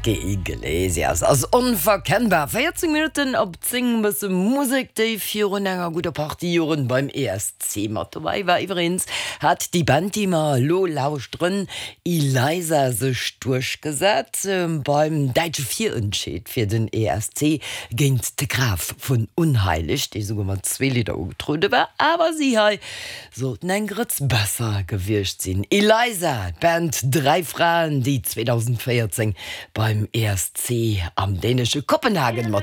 Enrique Iglesias ass onverkennbar. 14 Minutten op 10, bësse Musek, déi virun enger gudder Partie Joren beim ESC mat dobäi war. Iwweregens hat déi Band, déi mer elo lauschteren, Eliza, sech duerchgesat beim däitsche Virentscheed fir den ESC géint de Graf vun Unheilig, dee souguer mat zwee Lidder ugetruede war. Awer si hei Sollten eng Grëtz besser gewiescht sinn. Eliza, d'Band Dräi Fraen, déi 2014 beim ESC am dänesche Kopenhagen mat.